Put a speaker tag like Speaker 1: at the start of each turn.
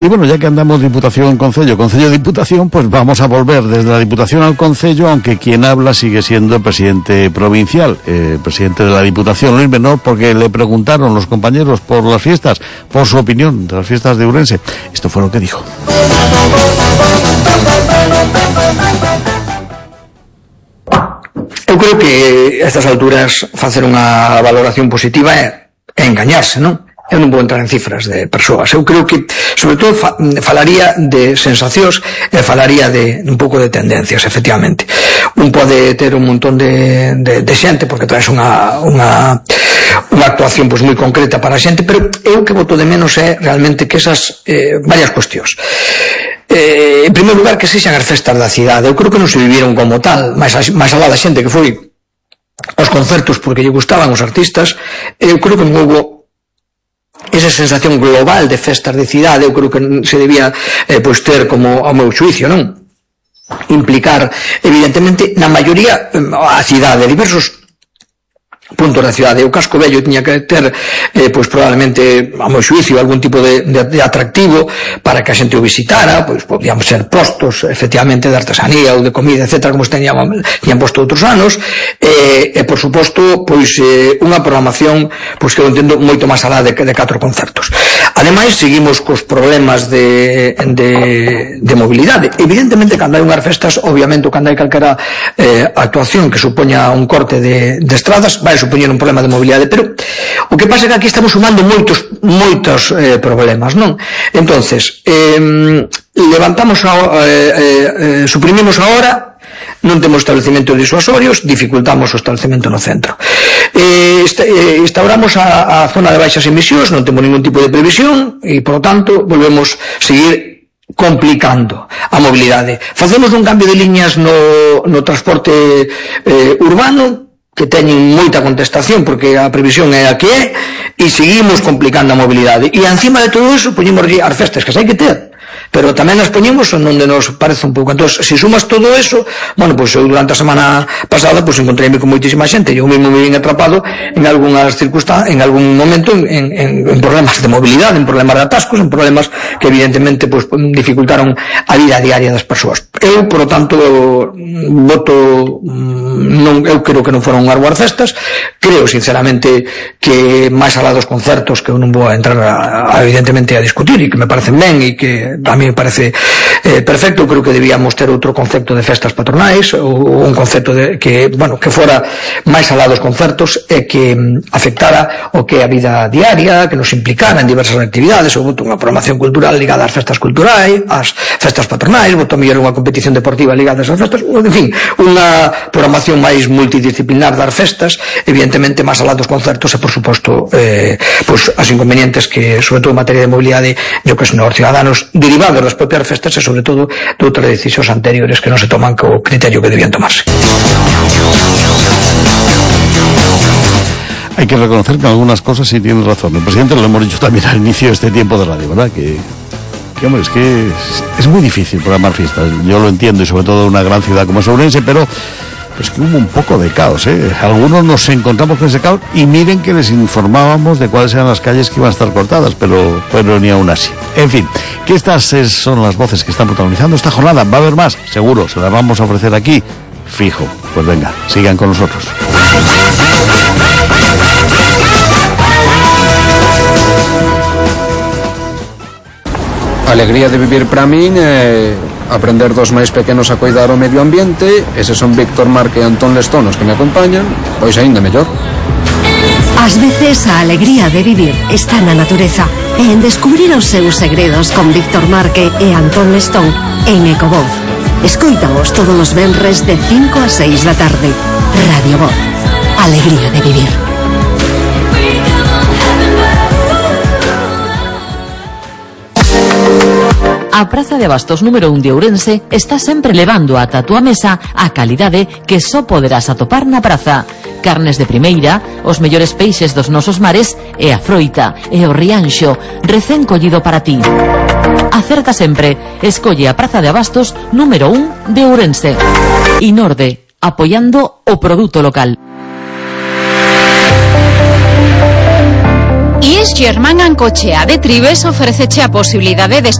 Speaker 1: Y bueno, ya que andamos Diputación, Concello, Diputación, pues vamos a volver desde la Diputación al Concello, aunque quien habla sigue siendo el presidente provincial, presidente de la Diputación, Luis Menor, porque le preguntaron los compañeros por las fiestas, por su opinión de las fiestas de Ourense. Esto fue lo que dijo.
Speaker 2: Eu creo que a estas alturas facer unha valoración positiva é engañarse, non? Eu non vou entrar en cifras de persoas. Eu creo que, sobre todo, falaría de sensacións e falaría de un pouco de tendencias, efectivamente. Un pode ter un montón de xente, porque traes unha actuación moi concreta para a xente, pero eu que boto de menos é realmente que esas varias cuestións. En primeiro lugar, que sexan as festas da cidade. Eu creo que non se viviron como tal, máis alá da xente que foi aos concertos porque lle gustaban os artistas. Eu creo que non houbo esa sensación global de festas de cidade. Eu creo que se debía ter como, ao meu xuicio, non? Implicar, evidentemente, na maioría a cidade, diversos puntos da cidade. O casco vello tiña que ter probablemente, ao meu xuicio, algún tipo de atractivo para que a xente o visitara. Pois podían ser postos efectivamente de artesanía ou de comida, etcétera, como tiñan posto outros anos, e por suposto unha programación que eu entendo moito máis alá de 4 concertos. Ademais, seguimos cos problemas de mobilidade. Evidentemente, cando hai unhas festas, obviamente, cando hai calquera actuación que supoña un corte de estradas, vai supoñer un problema de mobilidade, pero o que pasa é que aquí estamos sumando moitos problemas, non? Entonces, levantamos suprimimos a hora, non temos establecimentos disuasorios, dificultamos o establecemento no centro. Instauramos a zona de baixas emisións, non temos ningún tipo de previsión e, por lo tanto, volvemos a seguir complicando a mobilidade. Facemos un cambio de liñas no transporte urbano, que teñen moita contestación porque a previsión é a que é, e seguimos complicando a mobilidade. E encima de todo eso poñemos as festas que hai que ter, pero tamén as poñemos onde nos parece un pouco. Entón, se sumas todo eso, bueno, pois eu durante a semana pasada encontreime con moitísima xente, eu mesmo me vin atrapado en algunhas circunstancias, en algún momento en problemas de mobilidade, en problemas de atascos, en problemas que evidentemente dificultaron a vida diaria das persoas. Eu, por lo tanto, voto eu creo que non foron unhas boas festas. Creo sinceramente que máis alá dos concertos, que eu non vou a entrar evidentemente a discutir, e que me parecen ben e que a mí me parece perfecto. Creo que debíamos ter outro concepto de festas patronais, ou un concepto que fora máis alá dos concertos e que afectara o que é a vida diaria, que nos implicara en diversas actividades. Eu voto unha programación cultural ligada ás festas culturais, ás festas patronais, voto mellor unha competición deportiva ligada ás festas, en fin, unha programación máis multidisciplinar das festas, evidentemente máis alá dos concertos, e por suposto as inconvenientes que, sobre todo en materia de mobilidade, yo que son os ciudadanos derivados das propias festas e sobre todo de outras decisións anteriores que non se toman co criterio que debían tomarse.
Speaker 1: Hay que reconocer que en algunas cosas sí tienes razón. El presidente lo hemos dicho también al inicio de este tiempo de radio, ¿verdad? Que hombre, es que es muy difícil programar fiestas. Yo lo entiendo, y sobre todo en una gran ciudad como es Ourense, pero es que hubo un poco de caos, ¿eh? Algunos nos encontramos con ese caos y miren que les informábamos de cuáles eran las calles que iban a estar cortadas, pero ni aún así. En fin, que estas son las voces que están protagonizando esta jornada. Va a haber más, seguro, se las vamos a ofrecer aquí, fijo. Pues venga, sigan con nosotros.
Speaker 3: A alegría de vivir para min é aprender dos máis pequenos a coidar o medio ambiente. Eses son Víctor Marque e Antón Lestón os que me acompañan, pois aínda mellor.
Speaker 4: Ás veces a alegría de vivir está na natureza e en descubrir os seus segredos con Víctor Marque e Antón Lestón en Ecovoz. Escoítaos todos os venres de 5 a 6 da tarde. Radio Voz. Alegría de vivir.
Speaker 5: A Praza de Abastos número 1 de Ourense está sempre levando ata a túa mesa a calidade que só poderás atopar na praza. Carnes de primeira, os mellores peixes dos nosos mares e a froita e o rianxo recén collido para ti. Acerta sempre, escolle a Praza de Abastos número 1 de Ourense. Inorde, apoiando o produto local.
Speaker 6: E Germán Ancochea de Tribes ofréceche a posibilidade de estudar